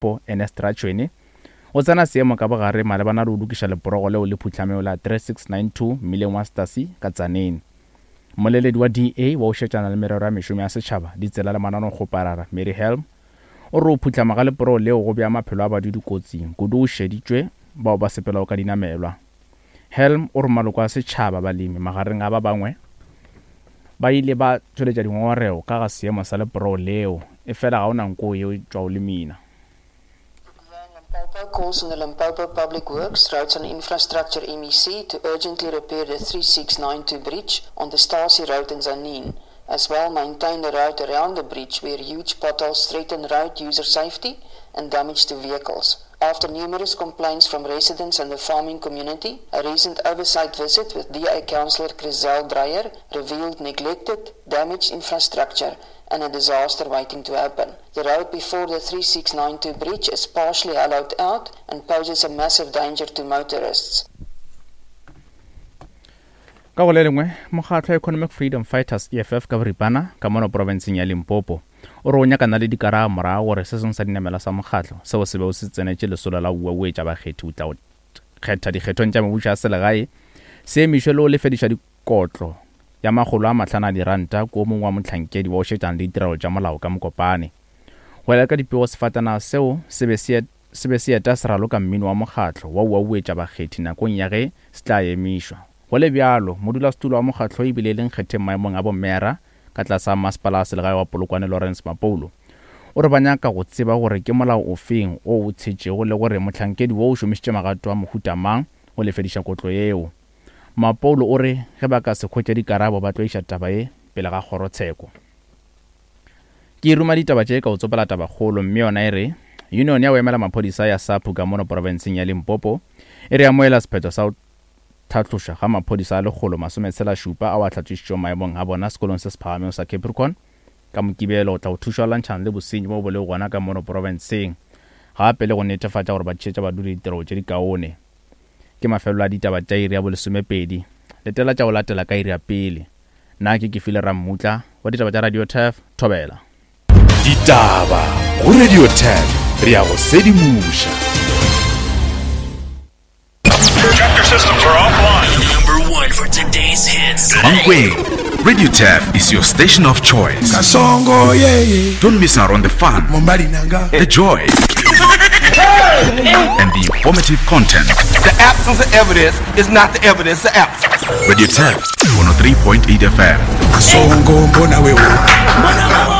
Limpopo, Ernest Ratšhwene, o tsena seemo ka bogare malebana le go lokiša leporogo leo le phuhlamego la 3692 mmileng wa Stasi ka Tzaneen. Mmoleledi wa DA wa go šetšana le merero ya mešomo ya setšhaba, ditsela le mananeokgoparara, Mary Helm, o re go phuhlama ga leporogo leo go bea maphelo a badudi kotsing, kudu go šeditšwe bao ba sepelago ka dinamelwa. Helm o re maloko a setšhaba, balemi magareng a ba bangwe, ba ile ba tšweletša dingongorego ka ga seemo sa leporogo leo, efela ga o na nko yeo e tšwago lemina. Limpopo calls on the Limpopo Public Works, Roads and Infrastructure MEC to urgently repair the 3692 bridge on the Stasi Road in Tzaneen, as well maintain the road around the bridge where huge potholes threaten road user safety and damage to vehicles. After numerous complaints from residents and the farming community, a recent oversight visit with DA Councillor Chriselle Dreyer revealed neglected, damaged infrastructure and a disaster waiting to happen. The road before the 3692 bridge is partially hollowed out and poses a massive danger to motorists. Ka go le lengwe, mokgatlo wa Economic Freedom Fighters, EFF, ka boripana, ka mono profenseng ya Limpopo, o re o nyakana le dikarabo morago gore se sengwe sa dinamela sa mokgatlo seo se bego se tsenetše lesolo la go uauetša bakgethi go tla go kgetha dikgethong tša mebušo ya selegae se emišwe le go lefedišwa dikotlo ya makgolo a mahlano a diranta ko mongwe wa mohlankedi wa go šetšana le ditirelo tša molao ka Mokopane. Go ya ka dipego sefatanaga seo se be se se be se eta se raloka mmino wa mokgatlo wa uauetša bakgethi nakong ya ge se tla emišwa. Go le bjalo, modulasetulo wa mokgatlo e bile e le nkgetheng maemong a bommeyara ka tlase ga Masepala wa Selegae wa Polokwane Lawrence Mapoulo, o re ba nyaka go tseba gore ke molao ofeng wo o tshetšego le gore mohlankedi wo o šomišitše magato a mohuta mang go lefediša kotlo yeo. Mapoulo o re ge ba ka se hwetše dikarabo ba tlo iša taba ye pele ga kgorotsheko. Ke ruma ditaba tše ka go tsopela tabakgolo mme yona e re, Union ya go emela maphodisa ya SAPU ka mono profenseng ya Limpopo e re amohela sephetho sa go tlhatlošwa ga maphodisa a lekgolo masometshela-šupa ao a hlatlošitšwego maemong a bona sekolong se se phagamego sa Capricorn ka Mokibelo go tla go thuša go lwantšhana le bosenyi bo bo lego gona ka mono profenseng gape le go netefatša gore ba tšhetša badudi ditirelo tše dikaone. Ke mafelelo a ditaba tša iri ya bolesomepedi. Letela tša go latela ka iri ya pele. Nna ke Kefile Rammutla wa ditaba tša Radio Turf, Thobela. Ditaba go Radio Turf, re a go sedimoša. Chapter systems are offline. Number one for today's hits. Mankweng, Radio Turf is your station of choice. Kasongo, yeah, yeah. Don't miss out on the fun, the joy, and the informative content. The absence of evidence is not the evidence of absence. Radio Turf 103.8 FM. Kasongo, mbona wewe.